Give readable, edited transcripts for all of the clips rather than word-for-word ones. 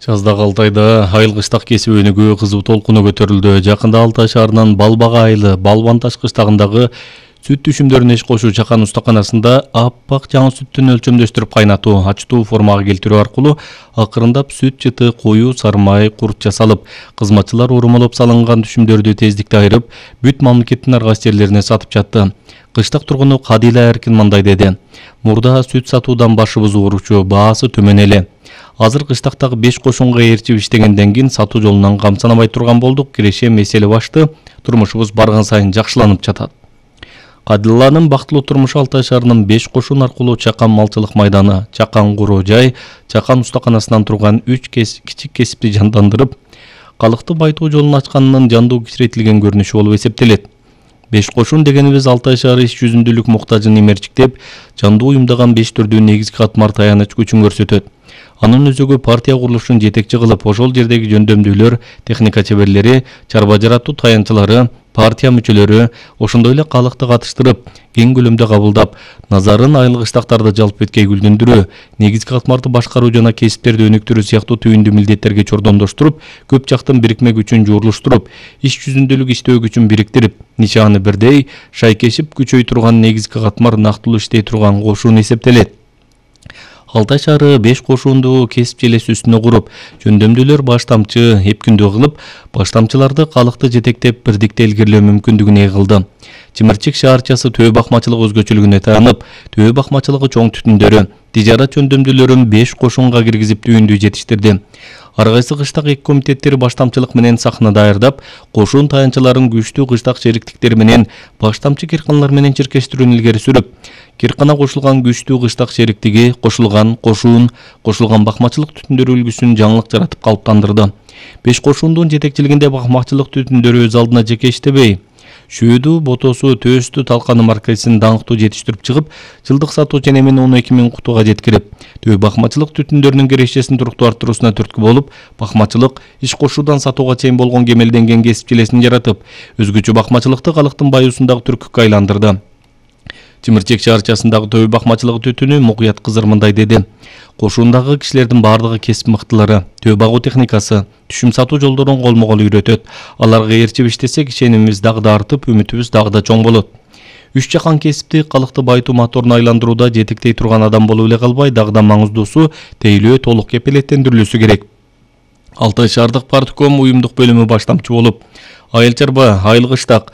Жаздагы Алтайда айыл кыштак кесип өнүгүү кызуу толкуну көтөрүлдү. Жакында Алтай шаарынын Балбага айылы Балбан Таш кыштагындагы сүт түшүмдөрүн эч кошуу чакан устаканасында аппак жаңы сүттүн өлчөмдөштүрүп кайнатуу, ачтуу формага келтирүү аркылуу акырындап сүт жыты, коюу, сармай, курт жасалып, кызматчылар урмалап салынган түшүмдөрдү тездикте айырып, бүт мамлекеттин ар кайсы жерлерине сатып жатты. Кыштак тургуну Кадила Эркин мындай деди: "Мурда сүт сатуудан башыбыз ооручу, баасы төмөн эле. Азыр кыштактагы 5 кошунга ээрчип иштегенден кийин сатуу жолунан камсанабай турган болдук. Киреше меселе башты. Турмушубуз барган сайын жакшыланып жатат." Кадиланын бактылуу турмушу Алтай шаарынын 5 кошун аркылуу Чакан малчылык майданы, Чакан куруу жай, Чакан устаканасынан турган 3 кичик кесипти жандандырып, калкты байтуу жолун ачканынын жандуу кичиретилген көрүнүшү болуп эсептелет. 5 кошун дегенибиз Алтай шаары иш жүзүндүүлүк муктажын эмерчиктеп, жандуу уюмдаган 5 түрдүү негизги катмар таяныч күчүн көрсөтөт. Анын өзөгү партия курулушун жетекчи кылып, ошол жердеги жөндөмдүүлөр, техника чеберлери, чарба жаратуу таянчылары, партия мүчөлөрү, ошондой эле калкты катыштырып, кең көлөмдө кабылдап, назарын айыл кыштактарды жалп эткей гүлдөндүрүү, негизги катмарды башкаруу жана кесиптерди өнүктүрүү сыяктуу түйүндүү милдеттерге чордондоштуруп, көп жактын бирикме күчүн жуурулуштуруп, иш жүзүндүүлүк иштөө күчүн бириктирип, нишаны бирдей, шайкешип күчөй турган негизги катмар нактылуу иштей турган кошун эсептелет. Алтай шаары 5 кошунду кесип желеси үстүнө куруп, жөндөмдүүлөр баштамчы, эпкүндүү кылып, баштамчыларды калкты жетектеп бирдикте илгерилөө мүмкүндүгүн ээ кылды. Чымырчык шаарчасы төө бакмачылык өзгөчөлүгүнө таянып, төө бакмачылыгы чоң түтүндөрү, тижарат жөндөмдүүлөрүн 5 кошунга киргизип түйүндүү жетиштирди. Ар кайсы кыштак эки комитеттери баштамчылык менен сахна даярдап, кошун таянчыларын күчтүү кыштак шериктиктер менен баштамчы кирканалар менен чиркештирүүнү илгери сүрүп, киркана кошулган күчтүү кыштак шериктиги, кошулган кошун, кошулган бакмачылык түтүндөрү үлгүсүн жаңылык жаратып калыптандырды. 5 кошундун жетекчилигинде бакмачылык түтүндөрү өз алдына жеке иштебей, шүүдү, ботосу, төөстү, талканы маркасин даңктуу жетиштирип чыгып, жылдык сатуу ченемин 12 000 кутуга жеткирип, төө бакмачылык түтүндөрүнүн кирешесин туруктуу арттыруусуна түрткү болуп, бакмачылык иш кошуудан сатууга чейин болгон кемелденген кесип желесин жаратып, өзгөчө бакмачылыкты калктын баюусундагы түркүккө айландырды. Чымырчык шаарчасындагы төө бакмачылыгы түтүнү Мукуят Кызыр мындай деди: "Кошуундагы кишилердин бардыгы кесип мыктылары, төө багуу техникасы, түшүм сатуу жолдорун колмо-кол үйрөтөт. Аларга ээрчип иштесек, ишенимибиз дагы да артып, үмүтүбүз дагы да чоң болот. Үч жакан кесипти калкты байтуу моторуна айландырууда жетектей турган адам болуп эле калбай, дагы да маңыздуусу тейлөө толук кепилеттендирилүүсү керек." Алтай шаардык партком уюмдук бөлүмү баштамчы болуп, айыл чарба, айыл кыштак,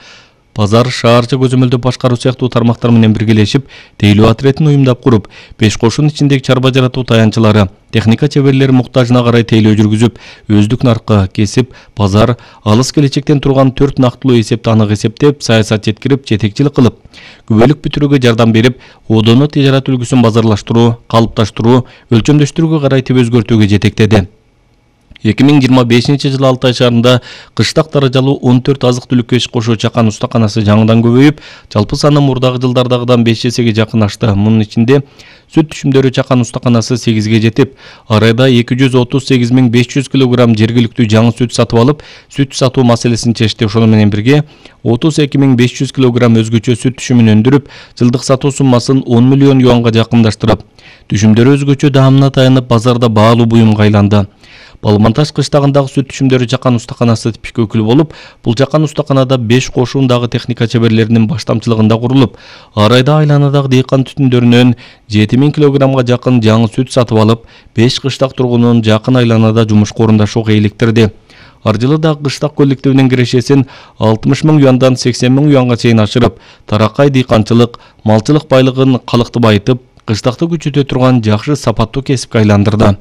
базар, шаарча көзөмөлдөө башкаруу сыяктуу тармактар менен биргелешип, тейлөө отрядын уюмдап куруп, 5 кошун ичиндеги чарба жаратуу таянчылары, техника чеберлери муктажына карай тейлөө жүргүзүп, өздүк наркы, кесип, базар, алыс келечектен турган 4 нактылуу эсепти анык эсептеп, саясат жеткирип, жетекчилик кылып, күбөлүк бүтүрүүгө жардам берип, ОДОну тижарат үлгүсүн базарлаштыруу, калыпташтыруу, өлчөмдөштүрүүгө карайтип өзгөртүүгө жетектеди. 2025-жылы Алтай шаарында кыштак даражалуу 14 азык-түлүккө иш кошуу чакан устаканасы жаңыдан көбөйүп, жалпы саны мурдагы жылдардагыдан 5 эсеге жакын ашты. Мунун ичинде сүт түшүмдөрү чакан устаканасы 8ге жетип, ар айда 238 500 кг жергиликтүү жаңы сүт сатып алып, сүт сатуу маселесин чечти. Ошону менен бирге 32 500 кг өзгөчө сүт түшүмүн өндүрүп, жылдык сатуу суммасын 10 миллион юанга жакындаштырып, түшүмдөрү өзгөчө даамына таянып, базарда баалуу буюмга айланды. Балбан Таш кыштагындагы сүт түшүмдөрү чакан устаканасы типик өкүлү болуп, бул чакан устаканада 5 кошундагы техника чеберлеринин баштамчылыгында курулуп, ар айда айланадагы дыйкан түтүндөрүнөн 7000 кг жакын жаңы сүт сатып алып, 5 кыштак тургунун жакын айланада жумушка орундашууга иликтирди. Ар жылы да кыштак коллективинин кирешесин 60 000 юандан 80 000 юанга чейин ашырып, таракай дыйканчылык, малчылык байлыгын калкты байытып, кыштакты күчөтө турган жакшы сапаттуу кесипке айландырды.